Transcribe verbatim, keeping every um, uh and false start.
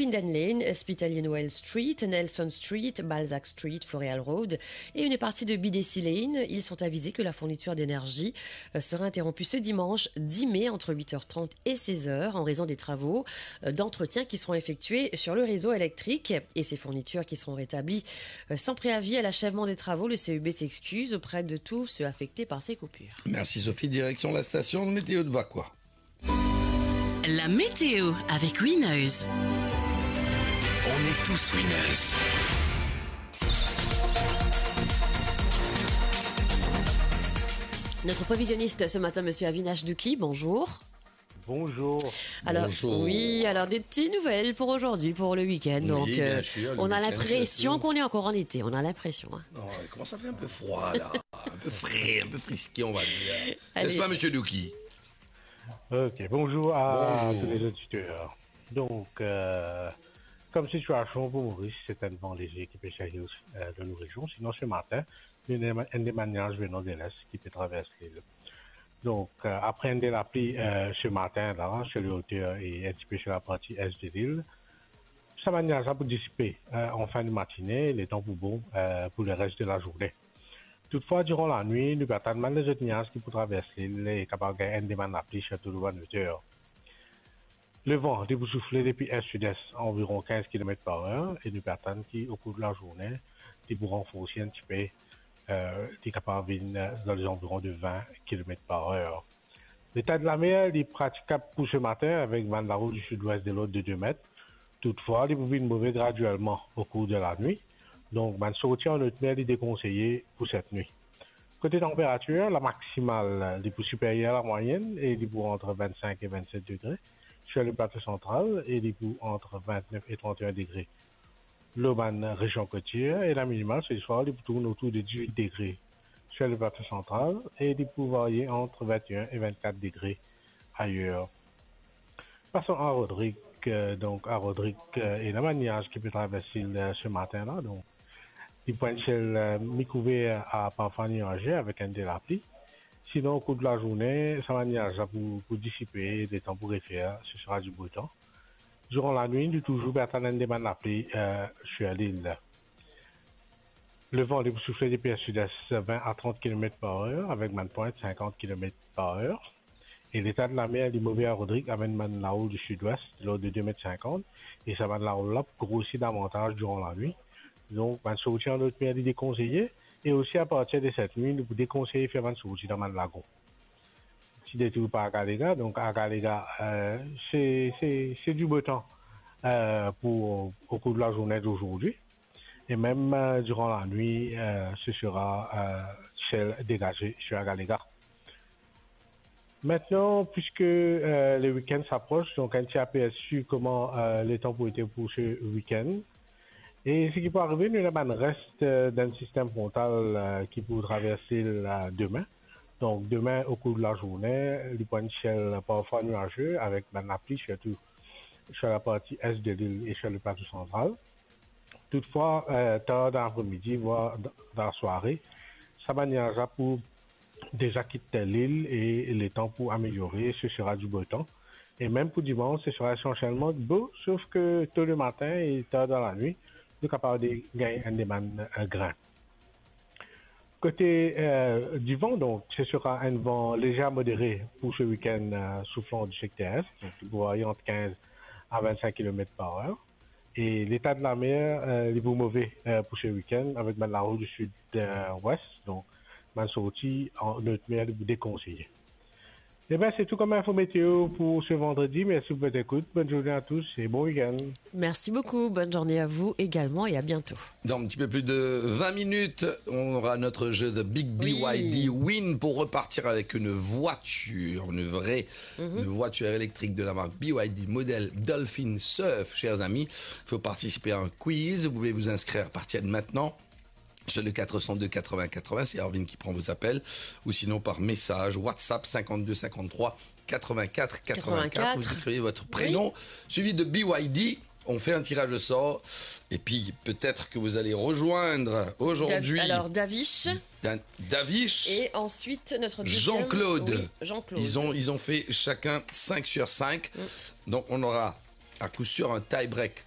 Linden Lane, Hospitalier Noël Street, Nelson Street, Balzac Street, Floreal Road et une partie de B D C Lane. Ils sont avisés que la fourniture d'énergie, euh, sera interrompue ce dimanche dix mai entre huit heures trente et seize heures en raison des travaux, euh, d'entretien qui seront effectués sur le réseau électrique. Et ces fournitures qui seront rétablies, euh, sans préavis à l'achèvement des travaux, le C E B s'excuse auprès de tous ceux affectés par ces coupures. Merci Sophie, direction la station météo de Vacoas. La météo avec Winners. On est tous winners. Notre prévisionniste ce matin, monsieur Avinash Douki, bonjour. Bonjour. Alors, Bonjour. Oui, alors des petites nouvelles pour aujourd'hui, pour le week-end. Oui, Donc, bien euh, sûr, le on a week-end, l'impression surtout. Qu'on est encore en été, on a l'impression, hein. Non, il commence à faire un peu froid, là. Un peu frais, un peu frisqué, on va dire. Allez. N'est-ce pas, monsieur Douki ? Ok, bonjour à Bonjour. Tous les auditeurs. Donc, euh, comme situation pour Maurice, c'est un vent léger qui peut servir, euh, dans nos régions. Sinon, ce matin, il y a un, un des niages venant de l'est qui peut traverser l'île. Donc, euh, après une des lapli, euh, ce matin, là, sur les hauteurs et un petit peu sur la partie est de l'île, sa niaz la pou disipe, euh, an fin de matine, letan pou bon, euh, pou le res de lazourne. Toutfwa, diran lanwit, nou pe atann bann lezot niaz ki pou travers lil e kapav gagn enn de bann lapli, sirtou lor bann oter. Levan, li pou soufle depi est-sud-est, anviron quinze kilomètres par heure, e nou pe atann ki, o kour de lazourne, li pou ranforse enn tipe, euh, li kapav vinn, euh, dan lezanviron de vingt kilomètres par heure. Leta de lamer, li pratikab pou se matin avek bann larou di sid-wes de lord de de met. Toutfwa, li pou vinn move gradielman o kour de lanwit. Donk, bann sorti an lot mer, li dekonseye pou set nwit. Kote tanperatir, la maksimal, li pou siperyer lamwayenn e li pou ant vennsenk e vennset degre. Sir le plato santral, e li pou ant vintnef e trant-e-enn degre lor bann rezion kotier, e la minimal, se swar, li pou tourn otour de diz-wit degre sir le plato santral, e li pou varye ant vinteenn e vintkat degre ayer. Pason a Rodrig, euh, donk a Rodrig, euh, ena bann niaz ki pe travers lil, euh, se matin la, donk li pou enn siel, euh, mikouver a parfwa niaze avek enn de lapli. Sinon, o kour de lazourne, sa bann niaz la pou, pou disipe, letan pou refer, se sera di bo tan. Diran lanwit, nou touzour pe atann enn de bann lapli, euh, sir lil. Levan, li pou soufle depi est-sud-est, vin a trant kilomet par er, avek bann pwint sinkant kilomet par er. E leta de lamer, li move a Rodrig, avek bann larou di sid-wes, lord de de met sinkant, e sa bann larou la pou grosi davantaz diran lanwit. Donk, bann sorti an lot mer, li dekonseye, e osi apartir de set nwit, nou pou dekonseye fer bann sorti dan bann lagon. Ti detour par Agalega. Donk, Agalega, euh, se, se, se di bo tan, euh, pou, o kour de lazourne d'ozordi. E mem, euh, diran lanwit, euh, se sera, euh, siel degaze sir Agalega. Aster, piske, euh, le week-end s'approche, donk enn ti apersi kouma, euh, letan pou ete pou se week-end. E seki pou arive, nou ena bann res, euh, dan sistem frontal, euh, ki pou travers lil, euh, demin. Donk, demin, o kour de lazourne, li pou enn siel parfwa niaze avek bann lapli, sirtou sir laparti est de lil e sir le plato santral. Toutfwa, euh, tar dan lapre-midi, vwar dan, dan lasware, sa bann niaz la pou deza kit lil e letan pou ameliore, se sera di bo tan. E mem pou dimans, se sera esansielman bo, sof ke to le matin e tar dan lanwit, nou kapav de gagn enn de bann, euh, grin. Kote, euh, divan, donk, se sera enn van lezer a modere pou se week-end, euh, souflan di sekter est, donk, li pou varye ant kinz a vennsenk kilomet par er. E leta de lamer, euh, li pou move, euh, pou se week-end avek bann larou di sid, euh, wes, donk, bann sorti an lot mer, li pou dekonseye. Eben, se tou kom info meteo pou se vandredi. Mersi pou zot ekout. Bonn zourne a tous e bon week-end. Merci beaucoup. Bonne journée à vous également et à bientôt. Dans un petit peu plus de vingt minutes, on aura notre jeu de Big Oui. B Y D Win pour repartir avec une voiture, une vraie, Mhm. une voiture électrique de la marque B Y D, modèle Dolphin Surf, chers amis. Il faut participer à un quiz. Vous pouvez vous inscrire à partir de maintenant sur le quatre cent deux quatre-vingts quatre-vingts, c'est Erwin qui prend vos appels, ou sinon par message WhatsApp cinquante-deux cinquante-trois quatre-vingt-quatre quatre-vingt-quatre. Quatre-vingt-quatre. Vous écrivez votre prénom, Oui. suivi de B Y D. On fait un tirage au sort, et puis peut-être que vous allez rejoindre aujourd'hui Dav-, alors, Davish. Dan-, Davish. Et ensuite, notre deuxième, Jean-Claude. Oui, Jean-Claude. Ils ont, ils ont fait chacun cinq sur cinq. Mm. Donc, on aura à coup sûr un tie-break